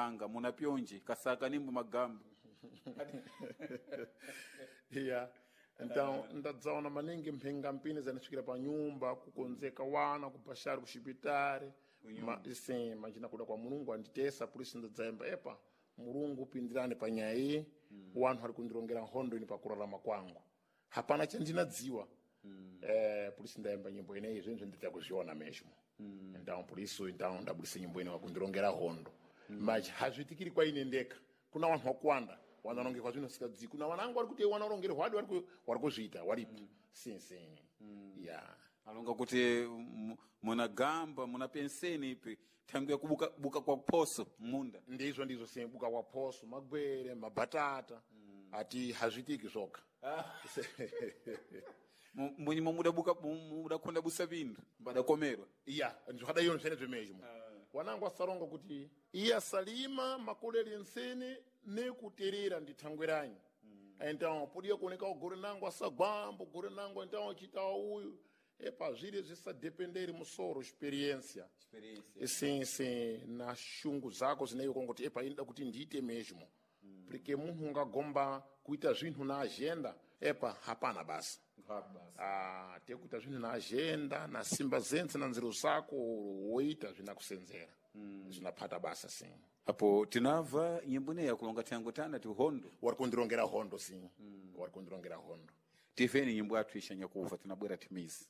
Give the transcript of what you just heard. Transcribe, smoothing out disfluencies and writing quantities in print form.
mphanga munapyonje kasaka nimbo magambo. Yeah. Então ndadzaona maningi mphingampini zanisvikira pa nyumba, kukonzeka wana kupashari kuxipitari. Sim, majina kuda kwa Mulungu anditesa, por isso ndadzayimba epa Mulungu pindirani pa nyaya iyi. Wanthu ari kundirongera nkhondo ini pakurarama kwangu, hapana chandinadziwa. Por isso ndayimba nyimbo ineyi, zvinhu ndidza kuzviona mesmo. Então por isso então ndabudisa nyimbo ine wakundirongera hondo. Mas hazvitikiri kwa ine ndeka, kuna wanhu wakuwanda wanarongekwa zvinhu sikadzi, kuna wanangu wari kuti wanarongerwa hwadi wari kuzviita waripo. Sim, sim, yeah. Alonga kuti munagamba munapenseni ipi thangu ya kubuka buka kwa phoso munda. Ndizvo, ndizvo, sim, buka kwa phoso, magwere, mabatata. Ati hazvitiki zvoga. Munyimo mudabuka mudakonda busa vindu mbadakomerwa. Iya, ndizvakadaiyo zvene zvemezvo. Wanangu asaronga kuti iye asalima makolere nsene nekuterera ndithangweranyi. Então podia kuoneka gore nangu asagwambo gore nangu, então chitawa uyu epa zviri zvisadependeri musoro, experiência. Sim, sim, na shungu zako zineyo kongoti epa inoda kuti ndiite mesmo, porque munhu ungagomba kuita zvinhu na agenda, epa hapana basa. Ah, tekuita zvinhu na agenda na simba zentse na nziro zako woita zvinakusenzera, zvinaphata basa, sim. Apo tinabva nyimbo ineyi yakulonga thangu tana ti hondo. Wari kundirongera hondo, sim, wari kundirongera hondo. Tiveni nyimbo yathu ishanyakuva tinabwera timizi.